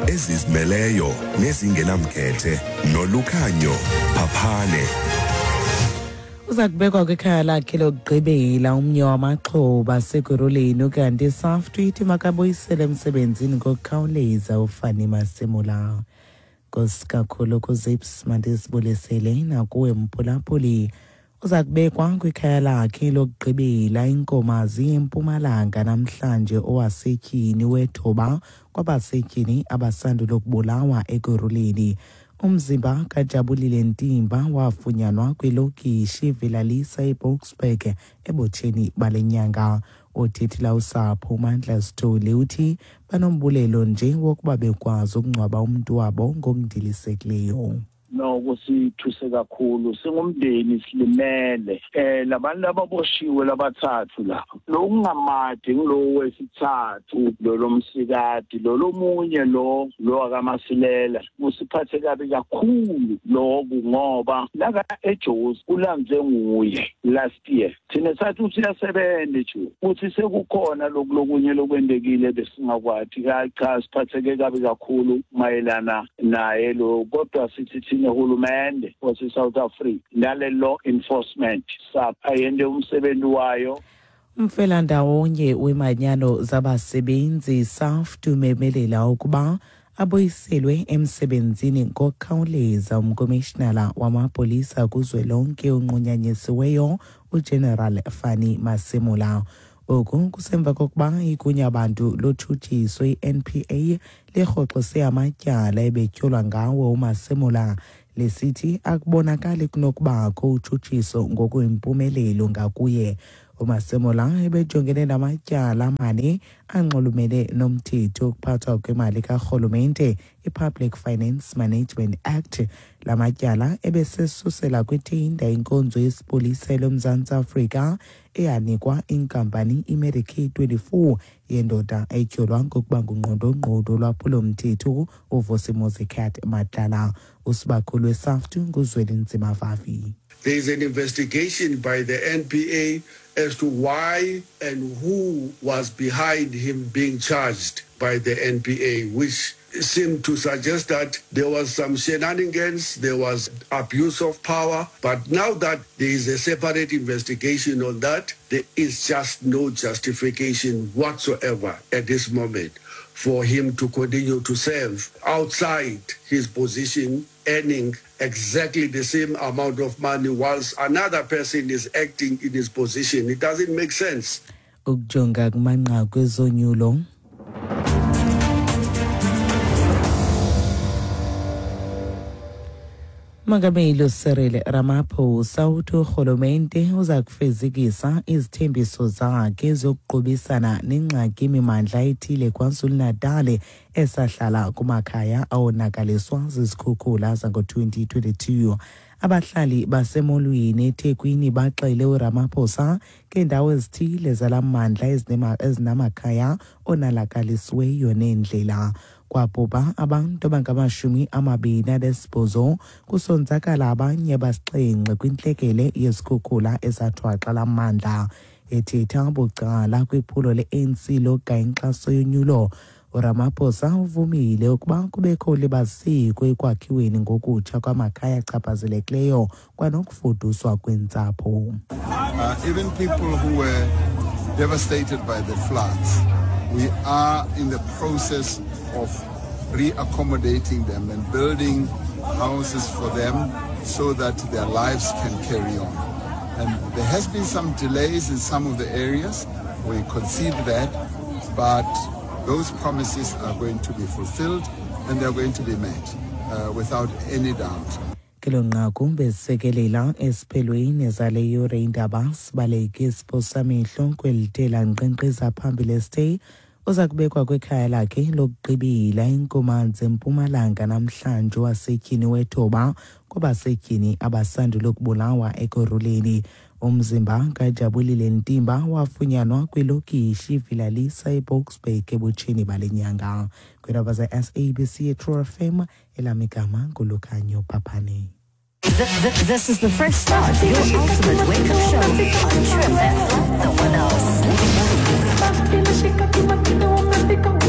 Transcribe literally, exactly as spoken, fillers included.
Ezizimeleyo nezingenamkhethe noLukhanyo Phaphane. Uza kubekwa kwikhaya lakhe lokugqibela umnye wamaxhoba asekuruleni, ukanti SAFTU ithi makabuyisele emsebenzini ngokukhawuleza uFani Masemola. Nkosi kakhulu kuZips, mandisibulisele nakuwe mphulaphuli. Uza kubekwa kwikhaya lakhe lokugqibela iNkomazi eMpumalanga namhlanje owasetyhini wethoba kwabasetyhini abasandula ukubulawa ekuruleni. Umzimba kaJabulile Ntimba wafunyanwa kwilokishi iVilalisa eBoksburg ebutsheni bale nyanga. Othethela usapho uMandla Sithole uthi banombulelo nje wokuba bekwazi ukungcwaba umntu wabo ngokundilisekileyo. Noko sithuse kakhulu singumndeni, silimele. eh labantu ababoshiwe labathathu lapha, lokungamadi ngilowo wesithathu, lo lomsikati, lo lomunye lo lo akaMasilela. Kusiphathe kabi kakhulu lokhu ngoba laka eJozi kulanze nguye last year. Thina sathi usiyasebenza nje, uthi sekukhona lokhu lokunye lokwendekile besingakwati. Cha, siphatheke kabi kakhulu mayelana naye lo, kodwa sithi thina hulumende wase South Africa nale law enforcement sapha yende umsebenzi wayo. Umfelandawonye wemanyano zabasebenzi SAFTU umemelela ukuba abuyiselwe emsebenzini ngokukhawuleza umkomishinala wamapolisa kuzwelonke onqunyanyisiweyo uGeneral Fani Masemola. Oku kusemva kokuba igunyabantu lotshutshiso i-N P A lirhoxise amatyala ebetyholwa ngawo uMasemola, lisithi akubonakali kunokubakho utshutshiso ngokwempumelelo ngakuye. UMasemola ebejongene namatyala amane anxulumene nomthetho wokuphathwa kwemali karhulumente, i-Public Finance Management Act. La matyala ebesesusela kwithinda inkonzo yesipolisa loMzantsi Afrika eyanikwa inkampani iMedicaid twenty-four yendoda etyholwa ngokuba ngungqondongqondo lwaphulomthetho uVusimuzi Cat Matlala. Usibakhulu weSAFTU nguZwelinzima Vavi. There is an investigation by the N P A as to why and who was behind him being charged by the N P A, which seemed to suggest that there was some shenanigans, there was abuse of power. But now that there is a separate investigation on that, there is just no justification whatsoever at this moment for him to continue to serve outside his position, earning exactly the same amount of money whilst another person is acting in his position. It doesn't make sense. Ukujonga kumanqaku ezonyulo. Mongameli Cyril Ramaphosa uthi urhulumente uza kufezekisa izithembiso zakhe zokuqubisana nengxaki imimandla ethile KwaZulu-Natal esahlala kumakhaya awonakaliswa zizikhukhula zango-twenty twenty-two. Abahlali basemolweni eThekwini baxele uRamaphosa ngeendawo ezithile zala mandla ezinamakhaya onalakalisiweyo neendlela. Kwabhubha abantu abangamashumi amabini anesibhozo, kusonzakala abanye abasixhenxe kwintlekele yezikhukhula ezathwaxa la mandla. Ethetha bucala kwiphulo le-A N C lokugaya inkxaso yonyulo, uRamaphosa uvumile ukuba kubekho ulibaziseko ekwakhiweni ngokutsha kwamakhaya achaphazelekileyo kwanokufuduswa kweentsapho. Uh, even people who were devastated by the floods, we are in the process of reaccommodating them and building houses for them so that their lives can carry on. And there has been some delays in some of the areas. We concede that, but those promises are going to be fulfilled and they're going to be met, uh, without any doubt. Kelo nqaku besikelela esiphelweni zale yure indaba sibaleke isiphosamehlo kwelitela nkqenkqeza phambili esithe uza kubekwa kwikhaya lakhe lokugqibela iNkomanzi eMpumalanga namhlanje wasetyhini wethoba kwabasetyhini abasandula ukubulawa ekuruleni. Umzimba kaJabulile Ntimba wafunyanwa kwilokishi iVilalisa eBoksburg ebutsheni bale nyanga. Kwiindaba ze-S A B C True F M, elamigama nguLukhanyo Phaphane. This is the fresh start, your ultimate wake-up show on True F M, no one else.